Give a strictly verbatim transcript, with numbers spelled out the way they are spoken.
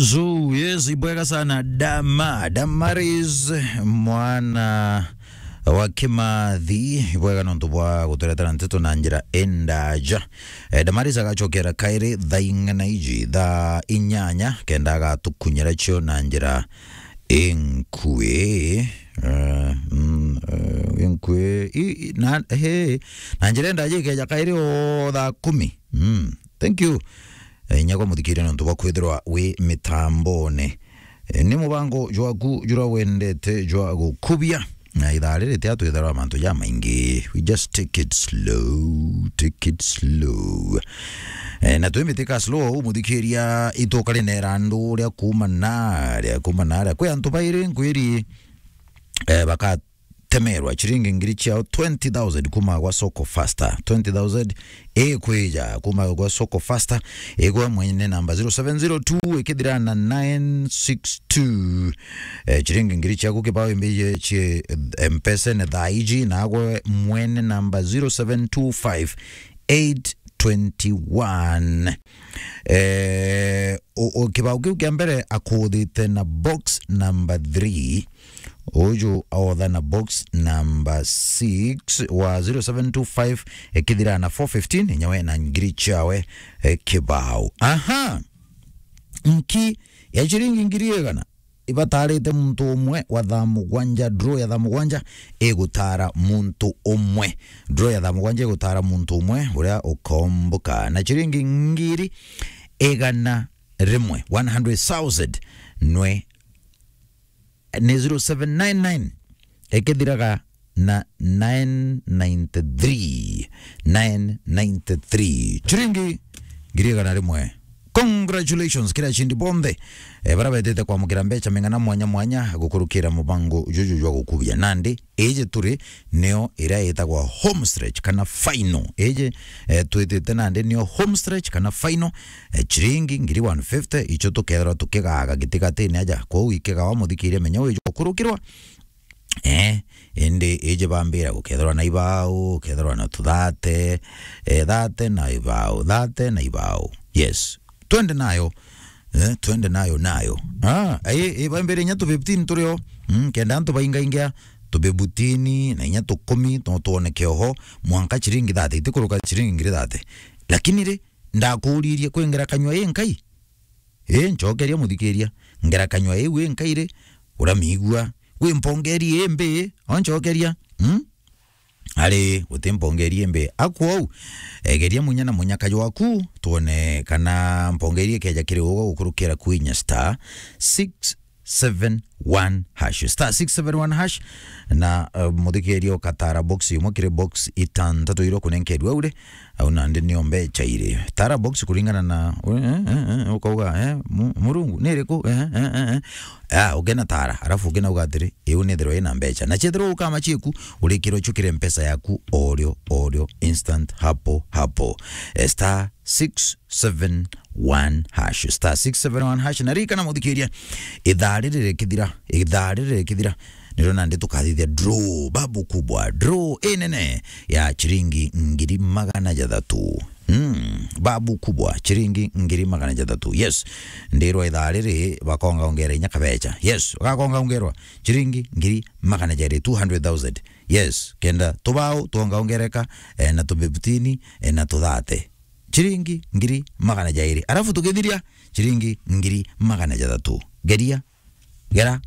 So, yes, ibwega sana. Dama, Damaris, mwana wa Kimathi, ibwega nontu bwa guturetera nteto na njira indaja. Eh, Damaris agacokera kairi thaa ing'ana iji, thaa inyanya, kenda agatukunyira cio na njira inkui. Eh, mm, eh, inkui, i, i, na, he, na njira indaja ikeja kairi o thaa kumi. Mm, thank you. Eh, inya kwa muthikiria nontu bwa kwithirwa wi mitambone. Eh, ni mubango jwaku jura wendete jwa gukubia. Na ithaa riri tia twithirwa mantu jamaingi. We just take it slow, take it slow. Eh, na twimbitika slow, muthikiria, ituka rinera andu ria kuma naria, kuma naria. Kwi antu bairi nkwiri, eh, baka temerwa chiringi ngiri ciao twenty thousand kuma gwa Soko Faster. Twenty thousand ikwija kuma gwa Soko Faster, igwa mwene namba zero seven zero two ikithira na nine six two. Eh, chiringi ngiri ciaku kibao imbije chi, eh, Mpesa ne thaa iji, nagwe mwene namba zero seven two five eight twenty one. Eh, o, o, kibao kiu kia mbere akuthite na box number three. Uju aotha na box number six wa zero seven two five, ekithira na four fifteen, nyawe na ngiri chawe, eh, kibao. Aha. Nki ya chiringi ngiri igana ibatarite muntu umwe wa thaa mugwanja, draw ya thaa mugwanja igutara muntu umwe. Draw ya thaa mugwanja igutara muntu umwe uria ukomboka. Na chiringi ngiri igana rimwe, one hundred thousand, nwe ni zero seven nine nine, ikithiraga na nine ninety three, nine ninety three. Chiringi ngiri igana rimwe. Congratulations, kira chindi bonthe, eh, bara betete kwamukira mbecha meng'ana mwanya mwanya gukurukira mubango juju jwa gukubia. Nandi, iji turi nio iria itagwa home stretch kana final. Iji, eh, twitite nandi nio home stretch kana final. Eh, chiringi ngiri one fifty, icho tukethirwa tukigaga gitigatini aja. Kwou ikigawa muthikiria menya wiju gukurukirwa. Eh, indi iji bambira gukethirwa na ibao, gukethirwa na tuthate, eh, thate na ibao, thate na ibao. Yes. Twende nayo. Eh, twende nayo, nayo. Ah, ai, ai, bambire inya tu fifteen turio. Mm, kenda antu baingaingia tu fifteen na inya tu kumi, tu-, tuoneke oho, mwanka chiringi thate, itikuruka chiringi ngiri thate. Lakini ri, ndakuririe kwi ngerakanywa ii nkai? Ii, nchokeria muthikiria. Ngerakanywa iu ii nkai ri, uramigua. Wi mpongeri ii mbi, onchokeria. Mm? Ari, guti mpongeri imbi. Akwou, egeria munya na munyaka jwaku, tuone kana mpongeri ikeja kiri ugo gukurukira kwinya star six seven one hash. Star six seven one hash, na, eh, muthikiria ukatara box imwe kiri box itantatu iria ukunenkerua ure, au nandi nio mbecha iri. Tara box kuringana na, eh, eh, eh, ukauga, eh, mu-, Murungu, ni iriku? Eh, eh, eh, eh. Ah, ukena tara, alafu ukena uga atiri, iu nithirwa ina mbecha. Na chethirwa ukama chieku, urikirwa chukire mpesa yaku, orio, orio, instant, hapo, hapo. Eh, star six seven one hash. Star six seven one hash. Na ririkana muthikiria, ithaa riri rikithira, ithaa riri rikithira, niro nandi tukathithia draw, babu kubwa, draw inene ya chiringi ngiri magana jathatu. Mm, babu kubwa, chiringi ngiri magana jathatu. Yes. Ndirwa ithaa riri bakonga ongera inya kabecha. Yes, gakonga ongerwa chiringi ngiri magana jairi, two hundred thousand. Yes, kenda tubao tuonga ongereka, eh, na tu fifteen, eh, na tu thate. Chiringi ngiri magana jairi. Alafu tukithiria chiringi ngiri magana jathatu. Geria, gera,